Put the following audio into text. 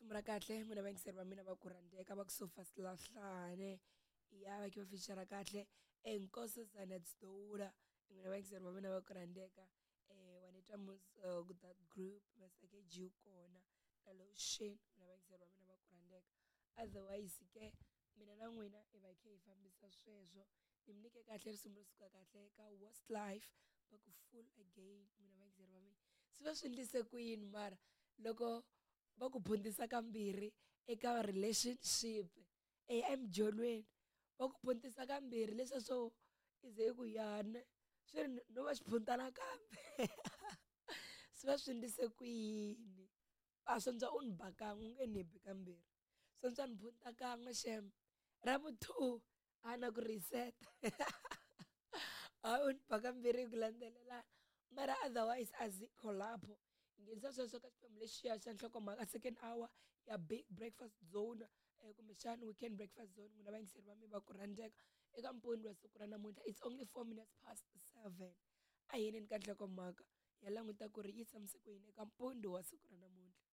Risimu ra kahle n'wina vayingiseri va mina va ku rhandzeka va ku sofa silahlane ya va ke va feature kahle Nkosazana Daughter n'wina vayingiseri va mina va ku rhandzeka wa ni twa mus that group Masake G kona na Lotion n'wina vayingiseri va mina va ku rhandzeka. Otherwise ke mina na n'wina hi va hi kha hi fambisa sweswo. Ni mi nyike kahle risimu ro suka kahle ka Worst Life va ku full again n'wina vayingiseri va mina. Swi va swi endlise ku yini mara loko va ku phundisa kambirhi eka relationship emujolweni va ku phundisa kambirhi leswiya swo i ze i ku yana swi ri no va xiphunta nakambe swi va swi endlise ku yini. A swi antswa u ni ba kan'we u nge ni bi kambirhi swi antswa ni phunta kan'we xem ra vu 2 a na ku reset hayi u ni ba kambirhi hi ku landzelelana mara otherwise azikho lapho. Nghenisa sweswo ka xiphemu lexiya xa nhlokomhaka second hour ya big breakfast zone kumbexana weekend breakfast zone n'wina vayingiseri va mina va ku rhandzeka eka mpundzu wa siku ra namuntlha. It's only 4 minutes past 7. A hi yineni ka nhlokomhaka ya languta ku ri yi tshamise ku yini eka mpundzu wa siku ra namuntlha.